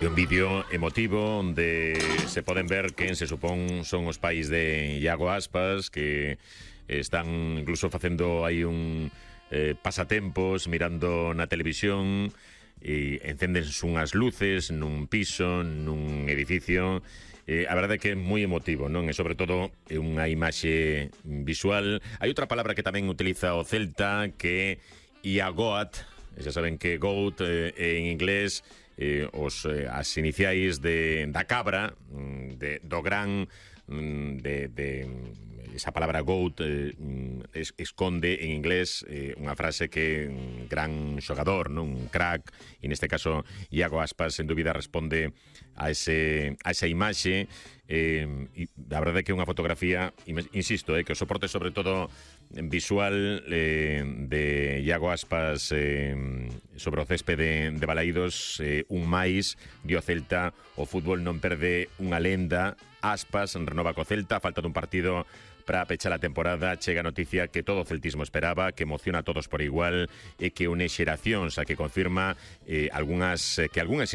É un vídeo emotivo onde se poden ver quen se supón son os pais de Iago Aspas, que están incluso facendo aí un pasatempos mirando na televisión e encéndense unhas luces nun piso, nun edificio. A verdade é que é moi emotivo, non? E sobre todo é unha imaxe visual. Hai outra palabra que tamén utiliza o Celta, que é Iagoat. Xa saben que GOAT en inglés as iniciais da cabra, do gran, esa palabra GOAT esconde en inglés unha frase que un gran xogador, non? Un crack, e neste caso Iago Aspas sen dúbida responde a esa imaxe. E a verdade é que é unha fotografía, insisto, que o soporte sobre todo visual de Iago Aspas sobre o céspede de Balaídos, un máis dio Celta, o fútbol non perde unha lenda. Aspas renova co Celta, falta dun partido para pechar a temporada. Chega a noticia que todo o celtismo esperaba, que emociona a todos por igual e que une xeracións, a que confirma que algunhas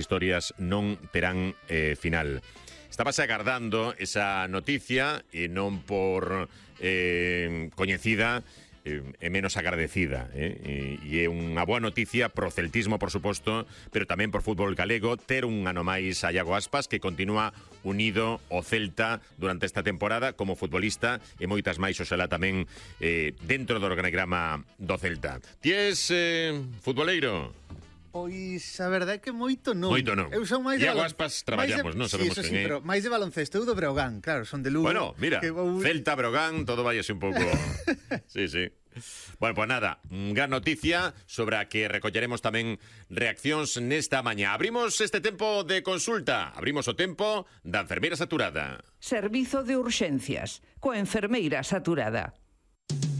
historias non terán final. Estábase agardando esa noticia e non por coñecida é menos agradecida, e é unha boa noticia pro celtismo, por suposto, pero tamén por fútbol galego, ter un ano máis a Iago Aspas, que continúa unido ao Celta durante esta temporada como futbolista, e moitas máis, oxalá tamén dentro do organigrama do Celta. Ti és futboleiro? Pois a verdade é que moito non. Moito non. Eu son máis de Iago Aspas traballamos, non sabemos sí, quen é. pero máis de baloncesto, eu do Breogán, claro, son de Lugo. Bueno, mira, Celta, Breogán, todo vai así un pouco. Sí, sí. Bueno, pues nada, gran noticia sobre a que recolleremos tamén reaccións nesta mañá. Abrimos este tempo de consulta, abrimos o tempo da enfermeira saturada. Servizo de urxencias, coa enfermeira saturada.